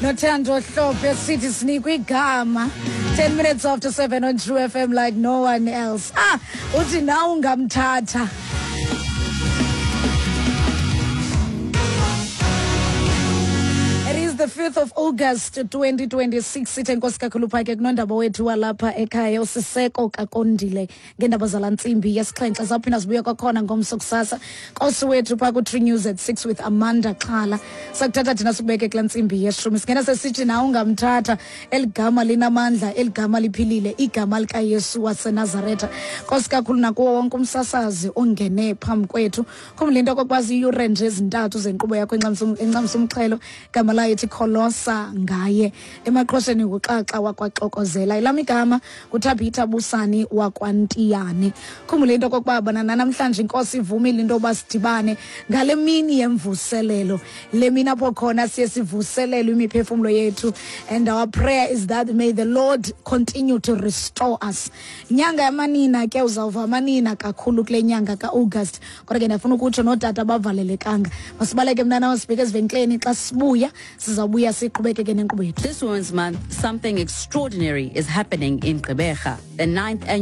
Nothando Hlophe sithi sinikwa igama. 10 minutes after 7 on True FM like no one else. Ah, uthi nawe ungamthatha. It is the 5th of August 2026. Sithe nkosi kakhulu pha ke kunondaba wethu walapha ekhaya uSiseko Kakondile ngeendaba zala ntsimbi yesixhenxe. Zawuphinda sibuye kwakhona ngomso kusasa. Nkosi wethu pha ku-True News at 6 with Amanda Xhala. Sakuthatha thina sikubeke kula ntsimbi yeshumi. Singena sesithi nawe ungamthatha. Eli gama linamandla, eli gama liphilile, igama likaYesu waseNazaretha. Nkosi kakhulu nakuwo wonke umsasazi ongene phambi kwethu. Khumbula into okokuba ziyure nje ezintathu zenkqubo yakho encamisa umxhelo. Igama layo ithi Kholosa ngaye. Emaqhosheni nguXaxa wakwaXokozela. Elam igama nguThabitha Busani wakwaNtiyane. Khumbula into okokuba bona nanamhlanje iNkosi ivumile into yoba sidibane ngale mini yemvuselelo. Le mini apho khona siye sivuselelwe imiphefumlo yethu. And our prayer is that may the Lord continue to restore us. Nyanga yamanina ke, uzawuva amanina kakhulu kule nyanga ka-August. Kodwa ke ndiyafuna ukutsho nootata bavalelekanga. Masibaleke mntana, sibheke ezivenkileni. Xa sibuya sizawubuya siqhubekeke nenkqubo yethu. This Women's Month, something extraordinary is happening in Gqeberha. The 9th annual